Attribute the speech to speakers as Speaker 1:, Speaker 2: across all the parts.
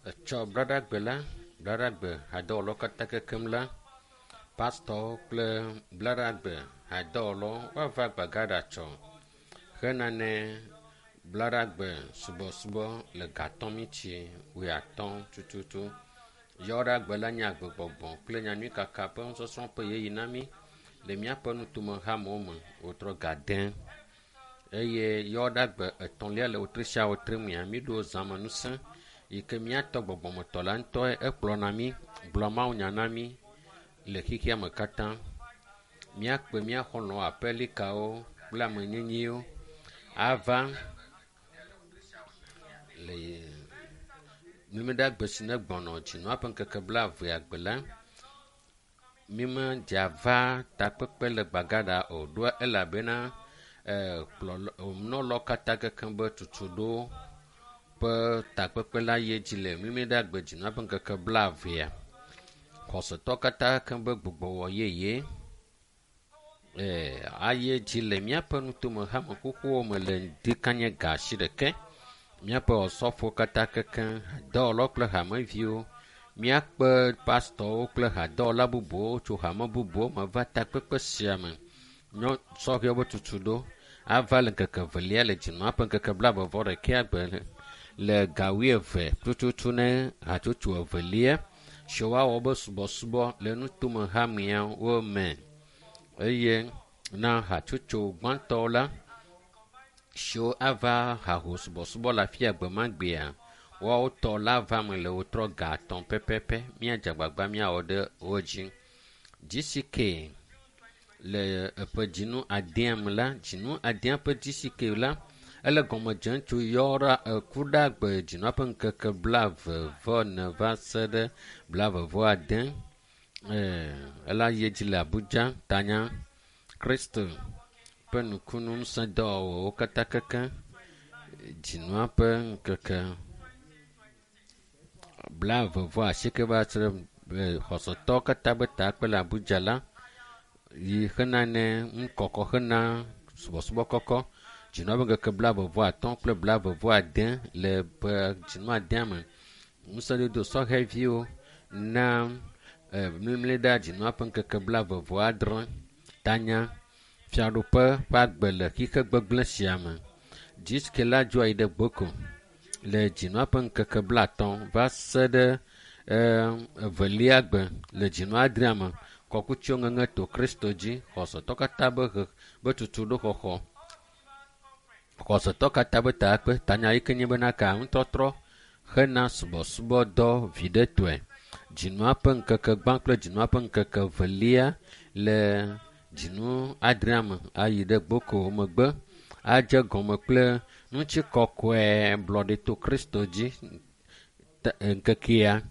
Speaker 1: Etsɔ braɖagbe la, braɖagbe hadɔwɔlawo katã kekem la, pastɔwo kple braɖagbe hadɔwɔlawo woava Gbagada tsɔ hena ne braɖagbe subɔsubɔ le gatɔ̃ miti wuiatɔ̃ tututu. Yɔɖagbe la nye agbegbɔgbɔ kple nyanyuikaka ƒe nusɔsrɔ̃ ƒe ɣeyiɣi na mí le míaƒe nutome hamewo me wotrɔ ga de eye yɔɖagbe etɔ̃lia le wotri sia wotri mea, míɖo zãme ŋusẽ yi ke míatɔ gbɔgbɔmetɔ la ŋutɔe ekplɔna mí gblɔ mawunya na mí le xexea me katã. Míakpe mía xɔlɔ̃wo, aƒelikawo kple amenyenyewo ava le numeɖagbe si ne gbɔnɔ dzinua ƒe ŋkeke blaevea gbe la, mímedze ava takpekpe le Gbagada o ɖoa elabena kplɔlɔ nunɔlawo katã kekeŋ be tutuɖo ƒe takpekpe la yi edzi le numeɖagbe dzinua ƒe ŋkeke blaevea. Xɔsetɔ katã keŋ be gbugbɔwɔ yeye ayi edzi le míaƒe nutome hame xoxowo me le ŋdikanye ga asi ɖeke. Míaƒe osɔfowo katã kekeŋ, hadɔwɔlawo kple hameviwo, míakpe pastɔwo kple hadɔwɔla bubuwo tso hame bubuwo me va takpekpe sia me. Nyɔ sɔhɛwo be tutuɖo ava le ŋkeke evelia le dzinua ƒe ŋkeke blaeve vɔ ɖekea gbe le ga wuieve tututu ne hatsotso evelia si woawɔ be subɔsubɔ le nutome hameawo me eye na hatsotso gbãtɔwo la siwo ava haho subɔsubɔ le afia gbe ma gbea, woawo tɔ la va me le wotrɔ ga atɔ̃ pɛpɛpɛ. Míadze agbagba míawɔ ɖe wo dzi. GCK le eƒe dzinu adea me la, dzinu adea ƒe GCK la, ele gɔme dzem tso yɔɖa ekuɖagbe dzinua ƒe ŋkeke blaeve vɔ ene va se ɖe blaeve vɔ ade. Ela yi edzi le Abuja tanya Kristo ƒe nukunu ŋusẽ dɔwɔwɔwo katã keke dzinua ƒe ŋkeke blaeve vɔ asieke va se ɖe xɔsetɔwo katã be takpe le Abuja la yi hena ne nukɔkɔ hena subɔsubɔ kɔkɔ dzinua ƒe ŋkeke blaeve vɔ atɔ̃ kple blaeve vɔ ade le ƒe dzinua adea me. Ŋusẽdodo sɔhɛviwo na mlimli ɖe dzinua ƒe ŋkeke blaeve vɔ adre tanya fiaɖuƒe ƒe agbe le xixe gbegblẽ sia me. Dziske la dzo yi ɖe Gboko le dzinua ƒe ŋkeke blaatɔ̃ va se ɖe evelia gbe le dzinua adrea me. Kɔkutsiwo ŋeŋe to Kristo dzi xɔsetɔ katã be he be tutuɖo xɔxɔ. Xɔsetɔ katã be takpe tanya yi ke nye bena ka nutɔtrɔ hena subɔsubɔdɔ viɖetɔe. Dzinua ƒe ŋkeke gbã kple dzinua ƒe ŋkeke evelia le dzinu adrea me ayi ɖe Gboko megbe adze gɔme kple ŋutikɔkɔe blɔɖe to Kristo dzi ŋkekea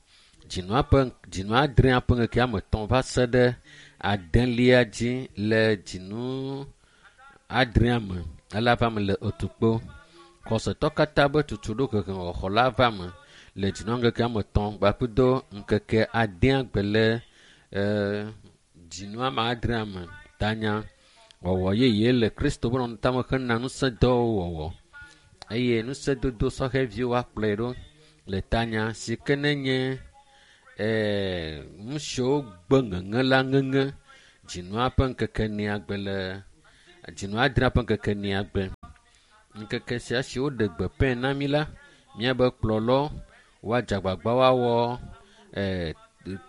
Speaker 1: dzinua ƒe dzinua adrea ƒe ŋkeke ame etɔ̃ va se ɖe adelia dzi le dzinu adrea me ela va me le Otukpo. Xɔsetɔ katã be tutuɖo hehe la va me le dzinua ŋkeke ame etɔ̃ kpakple ŋkeke adea gbe le dzinua ame adrea me tanya wɔwɔ yeye le Kristo ƒe nɔnɔmetame hena ŋusẽdɔwo wɔwɔ eye ŋusẽdodo sɔhɛviwo akplɔe ɖo le tanya si ke ne nye nu siwo gbe ŋeŋe la ŋeŋe dzinua ƒe ŋkeke enea gbe le dzinua adrea ƒe ŋkeke enea gbe. Ŋkeke sia si woɖe gbe pɛ na mí la, míabe kplɔlɔ woadze agbagba woawɔ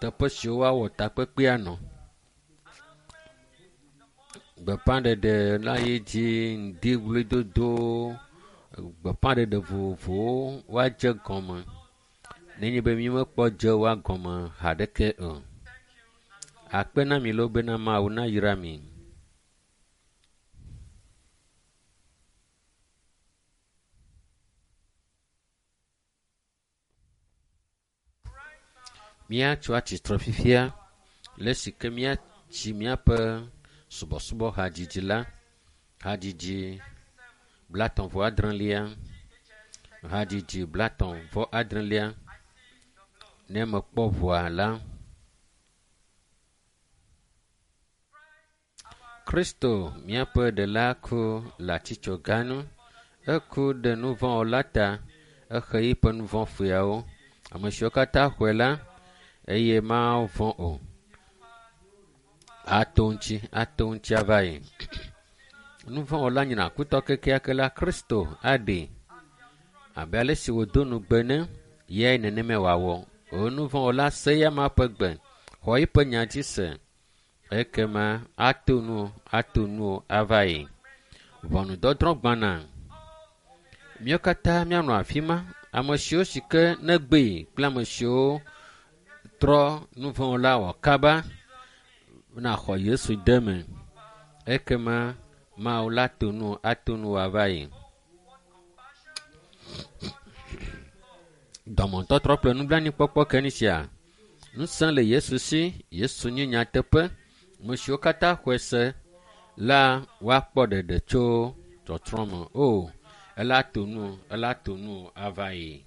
Speaker 1: teƒe siwo woawɔ takpekpea nɔ. Gbeƒãɖeɖe la yi dzi ŋdiwluidodo, gbeƒãɖeɖe vovovowo woadze gɔme nenye be mímekpɔ dze woa gɔme haɖeke o. Akpe na mi loo bena Mawu nayra mi. Míatso atsitre fifia le esi ke míatsi míaƒe subɔsubɔ hadzidzi la, hadzidzi blatɔ̃ vɔ adrelia, hadzidzi blatɔ̃ vɔ adrelia. Ne mekpɔ ʋua la, Kristo míaƒe ɖela ku le atsitsoga nu. Eku ɖe nu vɔ̃ wɔla ta. Exe yiƒe nu vɔ̃ fuyawo. Ame siwo katã xɔe la, eye mavɔ̃ o. Ato ŋuti, ato ŋuti ava yi. Nu vɔ̃ wɔla nyina kutɔ kekeake la, Kristo aɖee. Abe ale si wòdo nugbe ne, yae nenemae wòawɔ. O nu vɔ̃ wɔla se ya ma ƒe gbe, xɔ eƒe nya dzi se. Ekema ato nu, ato nu ava yi. Ʋɔnudɔdrɔ̃ gbana. Míawo katã míanɔ afi ma. Ame siwo si ke negbee kple ame siwo trɔ nu vɔ̃ la wɔ kaba naxɔ Yesu de me. Ekema Mawu la to nu ato nu wòava yi. Dɔmetɔtrɔ kple nublanuikpɔkpɔ ke ni sia. Ŋusẽ le Yesu si. Yesu nye nyateƒe. Ame siwo katã xɔe se la woakpɔ ɖeɖe tso tsɔtsrɔ̃ me. O, ela to nu, ela to nu ava yi.